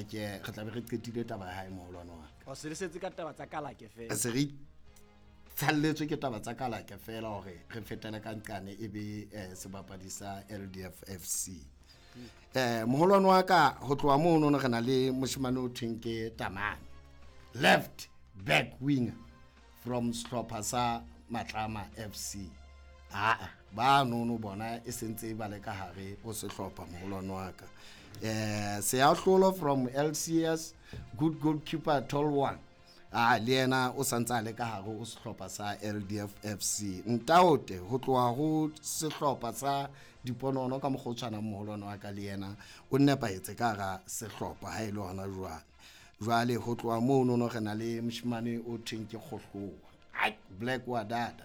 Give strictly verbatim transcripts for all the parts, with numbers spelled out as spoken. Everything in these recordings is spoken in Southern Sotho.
ke re tlabe re qetile taba ya hae moholwane wa ka. O se le setse ka taba tsa kalake fela. Se re tshalletswe ke taba tsa kalake fela hore re fetele ka nqane e be eh, sebapadi sa L D F F C. Eh, moholwane wa ka ho tloha mono re na le moshemane o thweng ke Tamane, left back winger from sehlopha sa Matlama F C. Ah, ba nono bona e sentse e ba le ka hare ho sehlopha moholwane wa ka. Eh, Seahlolo from L C S, good goalkeeper, tall one. Ah, le yena o santse a le ka hare ho sehlopha sa L D F F C. Ntaote ho tloha ho sehlopha sa Diponono ka mokgwa o tshwanang moholwane wa ka le yena o nepahetse ka hara sehlopha ha e le hona jwale. Jwale ho tloha mono no re na le moshemane o thweng ke Kgohloa, ai Black Wadada.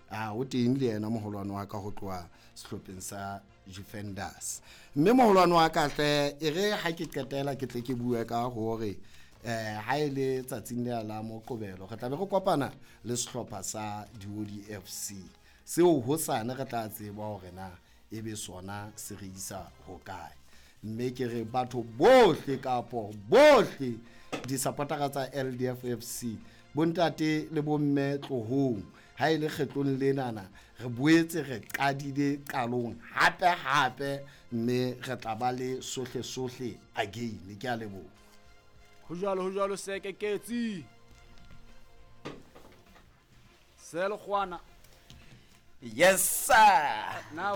Ah, o teng le yena moholwane wa ka ho tloha sehlopheng sa Defenders. Mme moholwane wa ka hle e re ha ke qetela ke tle ke bue ka hore eh ha e le tsatsing le la Moqebelo re tla be re kopana le sehlopha sa Diodi F C. Seo hosane re tla tseba hore na e be sona se re isa hokae. Mme ke re batho bohle kapo bohle di-supportera tsa L D F F C, bontate le bomme tlohong, ha e le kgetlong lenana re boetse re qadile qalong hape hape, mme re tla ba le sohle sohle again. Ke a leboha. Ho jwalo, ho jwalo, Seke Ketsi. Selekgwana. Yes sir. Na